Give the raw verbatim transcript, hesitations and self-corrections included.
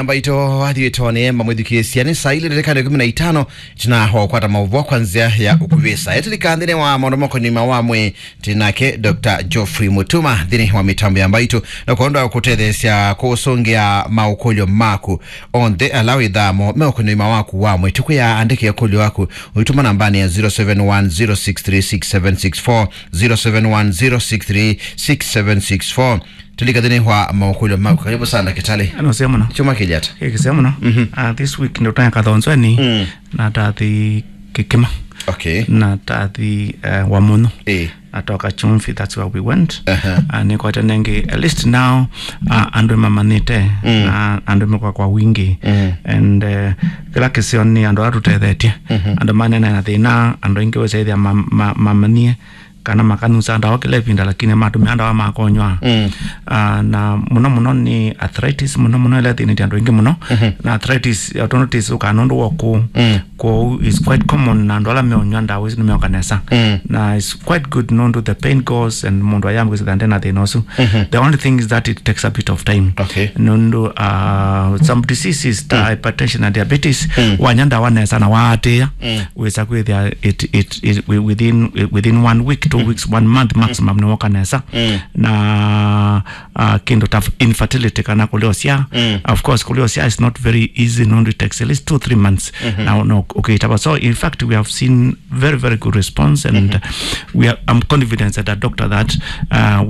Mbaitũ athiĩtwo nĩ mamwĩthukĩĩsya nĩ saa ilĩ na ndakĩka ikũmi na itano. Tũnakwata maũvoo kwa nzĩa ya ũkuvĩsa. Etĩlika nthĩnĩ wa maũndũ makoniĩ ũima wa mwĩĩ, twĩ nake Doctor Geoffrey Mutuma nthĩnĩ wa mĩtambo ya Mbaitũ, na kwenda kũtetheesya kũsũngĩa maũkũlyo maku onthe ala wĩthamo meũkoniĩ ũima waku wa mwĩĩ. Tũkwĩa andĩke ũkũlyo waku ũitũma nambanĩ ya zero seven one zero six three six seven six four, zero seven one zero six three six seven six four. Tũlika nthĩnĩ wa maũkũlyo maku. Karibu sana, ndakĩtalĩ. Nũseo mũno. Kyumwa kĩlĩ ata? Ĩ, kĩseo mũno. Mhm. Ah, this week ndio tanya kathonzweni. Mm. Na tathi Kĩkĩma. Okay. Na tathi, eh, Wamunyu. Eh. Na toka Chumvi, that's where we went. Aha. Ah, nĩkwete nengi, at least now, ah, andũ mamanyĩte. Mm. Na andũ mekwa kwa wingi. Mm. And, eh, kĩla kĩseo nĩ andũ ala tũtethetye. Mhm. Andũ manene na thĩna, andũ aingĩ wĩsaithia ma-, ma-, mamanyie kana makanusa ndawa kĩla ĩvinda, lakini matũmĩa ndawa makonywa. Mm. Ah, na mũno mũno nĩ arthritis, mũno mũno ĩla ĩthĩnĩtye andũ aingĩ mũno. Mhm. Na arthritis, arthritis ũkaa nũndũ wa kũũ. Mm. Kwoou is quite common, na andũ ala meũnywa ndawa isu nĩmeoka nesa. Mm. Na it's quite good nũndũ the pain goes and mũndũ ayambĩkĩsĩtha ndena thĩna ũsu. Mhm. The only thing is that it takes a bit of time. Okay. Nũndũ, uh, some diseases ta Mm. hypertension na diabetes, Mm. wanya ndawa nesa na waatĩĩa, Mm. wĩsa kwĩthĩa it, it, it, wi-, within, within one week, two Mm. weeks, one month maximum, nĩwoka nesa. Mm. Na, uh, kĩndũ ta infertility kana kũlea ũsyaa. Mm. Of course, kũlea ũsyaa is not very easy, nũndũ it takes at least two, three months. Mhm. Na, na ũkĩtava. So, in fact, we have seen very, very good response, and Mhm. we are, I'm confident that a doctor that, uh,